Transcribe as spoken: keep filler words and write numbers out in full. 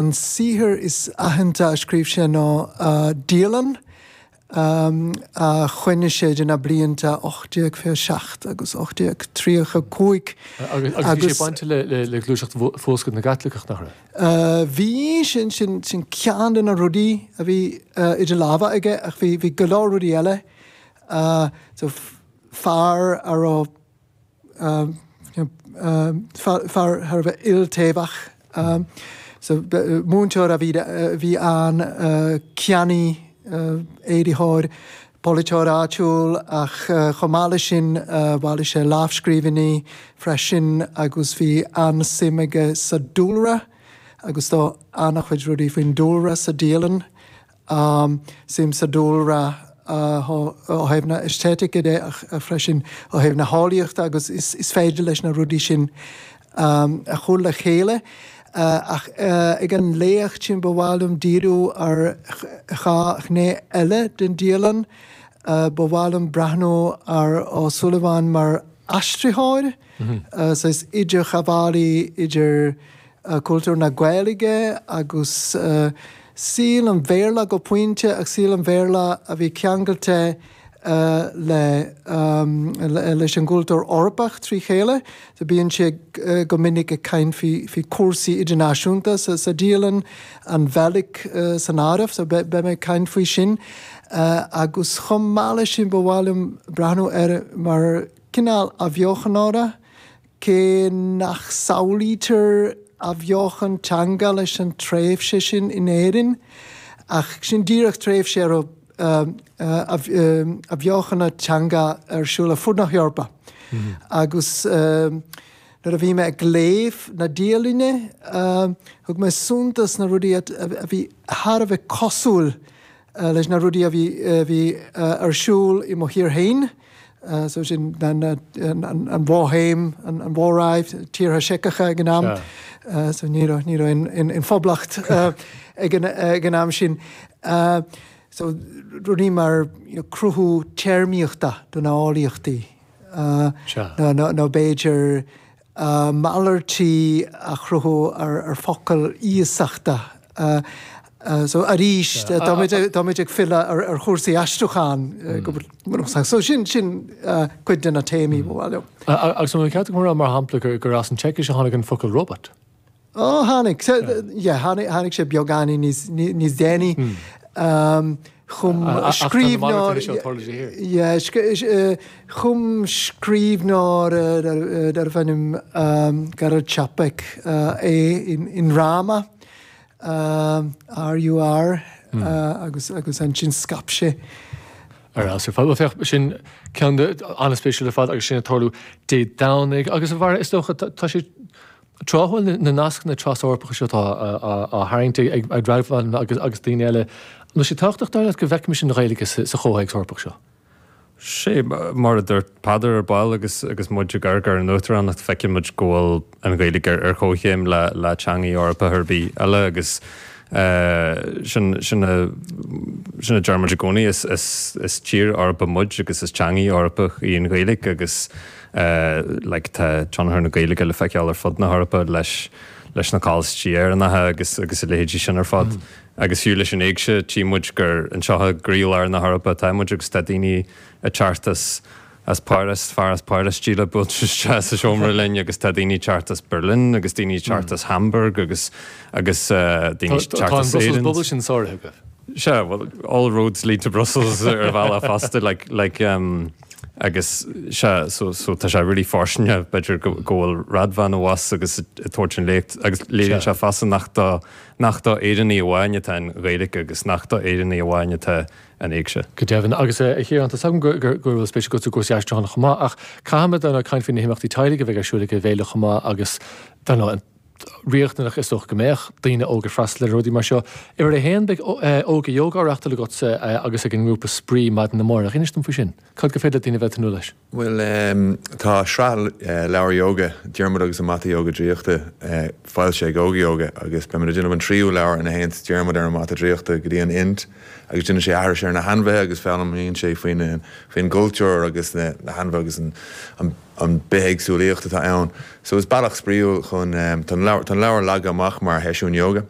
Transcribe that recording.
An saothar is aitheanta a scríobh sé ná dialann a choinnigh sé idir na blianta ocht déag fiche seacht agus ocht déag tríocha cúig. Agus bhí sé bainte le gluaiseacht Fuascailt na gCaitliceach, nach raibh? Bhí, sin sin ceann de na rudaí a bhí idir lámha aige ach bhí bhí go leor rudaí eile. So fear a raibh fear thar a bheith iltaobhach. So múinteoir a bhí a bhí ann, ceannaí, éirítheoir, polaiteoir áitiúil ach chomh maith leis sin bhailigh sé lámhscríbhinní freisin agus bhí an-suim aige sa dúlra agus tá an-chuid rudaí faoin dúlra sa dialann. Suim sa dúlra ó thaobh na aesthetic de ach freisin ó thaobh na heolaíochta agus is féidir leis na rudaí sin a chur le chéile. Ach ag an léacht sin ba mhaith liom díriú ar dhá ghné eile den dialann. Ba mhaith liom breathnú ar Ó Súilleabháin mar aistritheoir, saghas idirghabhálaí idir cultúr na Gaeilge agus saol an Bhéarla go pointe, ach saol an Bhéarla a bhí ceangailte le leis an gcultúr Eorpach trí chéile. So bíonn sé go minic ag caint faoi faoi chúrsaí idirnáisiúnta sa sa dialann, an Bheilg san áireamh, so beidh mé ag caint faoi sin. Agus chomh maith leis sin ba mhaith liom breathnú air mar cineál athbheochanóra, cé nach samhlaítear athbheochan teanga leis an tréimhse sin in Éirinn, ach sin díreach tréimhse a raibh athbheochan teanga ar siúl ar fud na hEorpa. Agus nuair a bhí mé ag léamh na dialainne, thug mé suntas na rudaí a bhí thar a bheith cosúil leis na rudaí a bhí a bhí ar siúl i mo thír féin, so sin an an Bhoihéim, an Mhóráiv, tíortha Seiceacha ag an am, so ní raibh ní raibh aon phoblacht ag an ag an am sin. So rudaí mar cruthú téarmaíochta do na heolaíochtaí nó b'fhéidir malairtí a chruthú ar focail iasachta. So arís táimid ag filleadh ar chúrsaí aistriúcháin go bunúsach. So sin sin cuid de na téamaí ba mhaith liom. Agus an ceart agam a rá mar shampla gur as an tSeicis a tháinig an focal robot? Ó tháinig, yeah, tháinig sé beagáinín níos níos déanaí. Chum scríbhneoir yeah, chum scríbhneoir darbh ainm Karel Čapek é i ndráma R U R agus agus ansin scaip sé. Ar fheabhas ar fad. Bhuel féach, sin ceann an-spéisiúil ar fad agus sin ag tarlú Dé Domhnaigh agus a Bharra is dócha tá sé tráthúil na nascanna tras-Eorpacha seo atá á tharraingt ag Radvan agus agus daoine eile. An bhfuil sé tábhachtach dar leat go bhfeicfimis an Ghaeilge sa chomhthéacs Eorpach seo? Sé mar a dúirt Peadar ar ball agus agus muid ag amharc ar an uachtaránacht, feiceann muid go bhfuil an Ghaeilge ar ar chomhchéim le le teanga Eorpach ar bith eile agus sin sin a sin a deir muid i gcónaí is is is tír Eorpach muid agus is teanga Eorpach í an Ghaeilge agus like tá tionchar na Gaeilge le feiceáil ar fud na hEorpa leis leis na coláistí Éireannacha agus agus a leithéidí sin ar fad. Agus fiú leis an éigse tchí muid gur anseo i gcroílár na hEorpa atá muid agus tá daoine ag teacht as as Páras, fear as Páras díreach buailte isteach sa seomra linn agus tá daoine ag teacht as Berlin agus daoine ag teacht as Hamburg agus agus daoine ag teacht as Éirinn. Tá an Brussels bubble sin sáraithe agaibh. Sea, well, all roads lead to Brussels ar bhealach fosta like like um, agus sea so so tá sé really fóirsteanach b'fhéidir go go bhfuil Radvan abhus agus ag tabhairt an léacht agus léiríonn sé fosta nach do nach do Éireannaigh amháin atá an Ghaeilge agus nach do Éireannaigh amháin atá an éigse. Go deimhin agus a Chiaráin, tá agam go bhfuil spéis agat i gcúrsaí aistriúcháin chomh maith ach caithfimid dar ndóigh caint faoi na himeachtaí teaghlaigh a bheidh ar siúl ag an bhféile chomh maith agus dar ndóigh riachtanach is dócha go mbeadh daoine óga ag freastal ar rudaí mar seo. Uimhir a haon beidh Óga Yoga á reáchtáil agatsa agus ag an ngrúpa Spraoi maidin amárach. Inis dom faoi sin. Cad gur féidir le daoine bheith ag tnúth leis? Bhuel tá sraith leabhar yoga, Diarmuid agus an Mata Yoga Draíochta, foilsithe ag Óga Yoga agus beimid ag déanamh an tríú leabhar ina théann Diarmuid ar an mata draíochta go dtí an Ind agus déanann sé aithris ar na hainmhithe agus foghlaimíonn sé faoin faoin gcultúr agus na hainmhithe agus an an an bithéagsúlaíocht atá ann. So is bealach spraíúil chun tá an leabhar tá an leabhar leagtha amach mar sheisiún yoga.